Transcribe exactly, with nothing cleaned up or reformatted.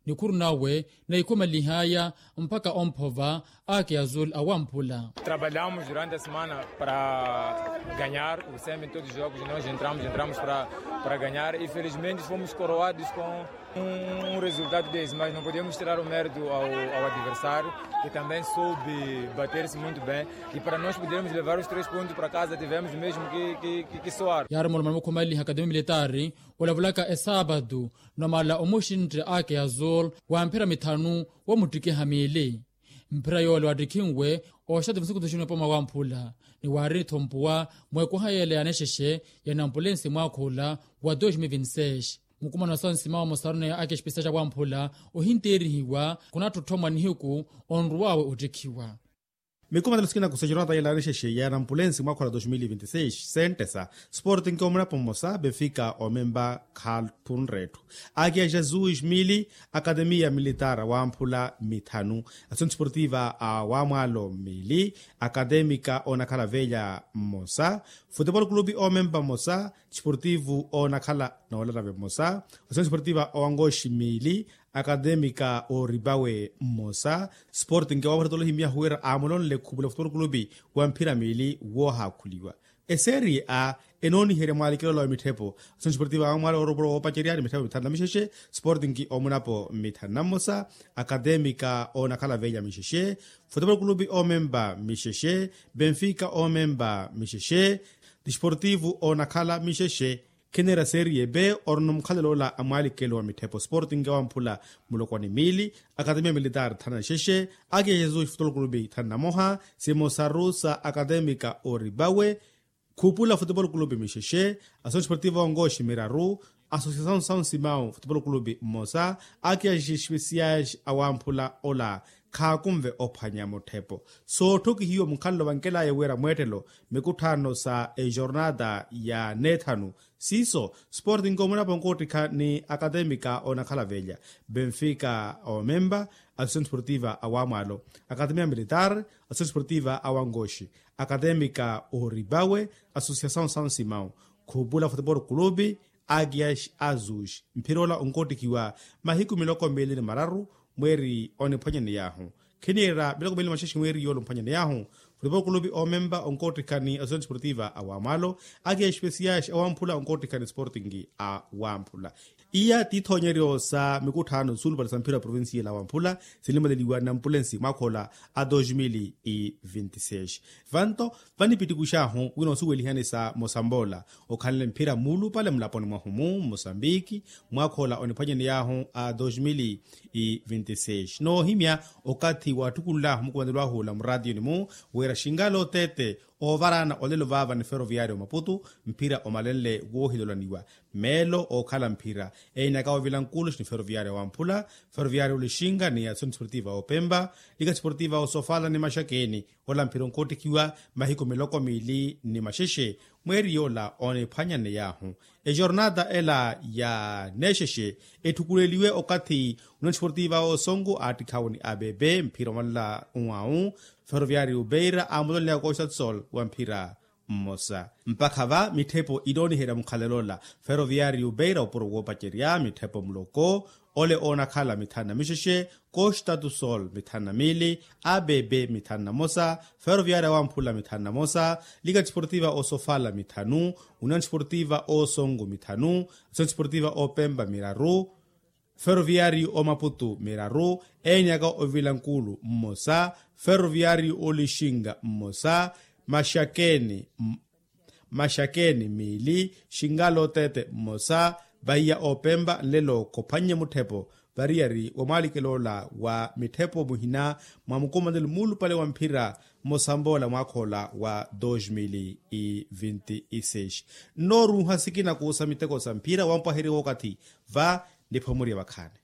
nikhuru nawe, naikhumalihaaya mpakha omphova. Ake azul awamphula. Trabalhamos durante a semana para ganhar o semi todos os jogos nós entramos entramos para ganhar e felizmente fomos coroados com um resultado desse mas não podemos tirar o mérito ao adversário, que também soube bater-se muito bem e para nós podermos levar os três pontos para casa tivemos mesmo que soar. Yaari mulumana mukhumalihaka timi militari, olavulaka esaabatu, nomala omuxintte ake azul, wa mphira mithanu, womuttikiha miili. Mphira yoole wattikhinwe oxati musiku tuxinwe poma wamphula, ni waari nithompuwa mweekuha yeele ya nexexe ya nampulensi mwaakha ola wa dos mil vinti seis. Mukumano wa sansimawo mosaru ni ake espesiya ja wamphula, ohinteerihiwa khunattotthommwa nihiku onruwawe ottikhiwa. Mikumano sikina kusa jornata yela nexexe ya nampulensi mwaakha ola dos mil vinti seis, sentesa, sporting omunapo mmosa benfica omemba khatunretthu. Ake ya jesus mili, akatemiya militar wamphula mithanu, asoni sportiva a wamwalo mili, akatemica onakhala velya mmosa, futebol clube omemba mmosa, sportivo onakhala nolatave mmosa, asoni sportiva owangoxi mili, akatemica oribawe mmosa, sporting wamphula tolohi miyahu wira amulonle khupula futebol clube, wamphira mili wohakhuliwa. Eserie a enooniherya mwalikelolo wa mitthepo, asoni sportiva wamwalo oropuro woopacerya ni mitthepo mithanu na mixexe, sporting omunapo mithanu na mmosa, akatemica onakhala velya mixexe, futebol clube omemba mixexe, benfica omemba mixexe, disportivo onakhala mixexe. Khinera serie b, orino mukhalelo ola a mwalikelo wa mitthepo sporting wamphula muloko ni mili, akatemiya militar thanu na xexe, ake ya jesus futebol clube thanu na moha, simosaru sa akatemica oribawe, khupula futebol clube mixexe, asoni sportiva ongoxi miraru, asosiasaun saun simau futebol clube mmosa, ake ya xespesias awamphula ola, khaakunve ophwanya mutthepo. Sootthokihiwa mukhalelo vankelaya wira mweettelo, mikutthaano sa ejornata ya neethanu, siiso, sporting omunapo onkoottikha ni akatemica onakhala velya, benfica omemba, asosiasaun sportiva awamwalo, akatemiya militar, asosiasaun sportiva awangoxi, akatemica oribawe, asosiasaun saun simau, khupula futebol clube, agias azus. Mphira ola onkoottikhiwa mahiku miloko miili ni mararu, mweeri oniphwanyaney'ahu. Khiniira miloko miili ni maxexe mweeri yoola omphwanyaney'ahu. Futebol clube omemba onkoottikha ni asosiasaun sportiva awamwalo, ake espesias awamphula onkoottikha ni sporting awamphula. Iya tithoonyeryo sa mikutthaano suulupale sa mphira wa provincia ela awamphula, sinimaleliwa nampulensi mwaakha ola a dos mil vinti seis. Vanto, vanipittikux'ahu wina osuwelihani sa mosamboola, okhanle mphira muulupale mulaponi mwahu mu mosambiki, mwaakha ola oniphwanyaney'ahu a dos mil vinti seis. Noohimya, okathi waattukunl'ahu mukumanelo ahu ola muraatiyoni mu, wira xingala oteete, oovaraana olelo vaava ni feroviario maputu, mphira omalenle woohilolaniwa. Meelo ookhala mphira, eenyaka ovila nkuluxi ni feroviario wamphula, feroviario olixinga ni asoni sportiva opemba, lika sportiva osofala ni maxakeni, ola mphira onkoottikhiwa mahiku miloko miili ni maxexe, mweeri yoola oniphwanyaney'ahu. Ejornata ela ya neexexe, etthukuleliwe okathi unansportiva osongo aattikhawo ni abb mphira omalela unwawu, feroviario beira aamulonleya koxatsol wa mphira mmosa. Mpakha va mitthepo inooniherya mukhalelo ola, feroviario beira opuro woopacerya mitthepo muloko, ole oonakhala mithanu na mixexe, kostatusol mithanu na miili, abb mithanu na mosa, feroviaria wamphula mithanu na mosa, lika disportiva osofala mithanu, union disportiva osongo mithanu, asion disportiva opemba miraru, feroviario omaputu miraru, eenyaka ovilankulu mmosa, feroviario olixinga mmosa, maxakeni maxakeni miili, xingala oteete mmosa, vahiya opemba nlelo khophwannye mutthepo, variyari wa mwaalikelo ola wa mitthepo muhina mwa mukumanelo muulupale wa mphira mmosambola mwaakha ola wa dos mil e vinte e seis. Nnooruuha sikina kuusa miteko sa mphira wampwaheriwa okathi va nipho muriya vakhaani.